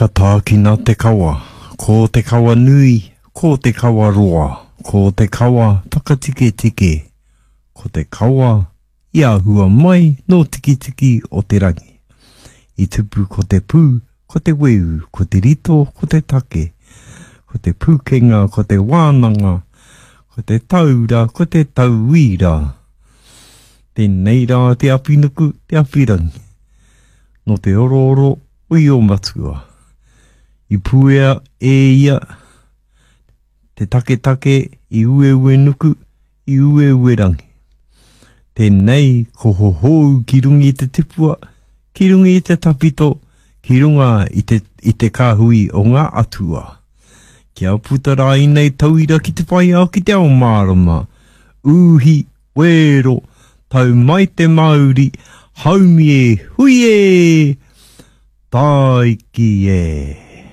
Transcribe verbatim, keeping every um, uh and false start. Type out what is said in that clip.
Ka tākina te kawa, ko te kawa nui, ko te kawa roa, ko te kawa whakatiketike, ko te kawa i āhua mai nō Tikitiki o te rangi. I tupu ko te pū, ko te weu, ko te rito, ko te take, ko te pūkenga, ko te wānanga, ko te taura, ko te tauira. Tēnei rā te awhinuku, te awhirangi. Nō te orooro o Io-matua. I puea e ia te taketake i Ueuenuku, i Ueuerangi. Tēnei ko hohou ki runga i te tipua, ki runga i te tawhito, ki runga i te, i te kāhui o ngā atua. Kia puta rā ēnei tauira ki te whai ao ki te ao mārama. Uhi, wero, tau mai te mauri, haumi e, hui e, tāiki e.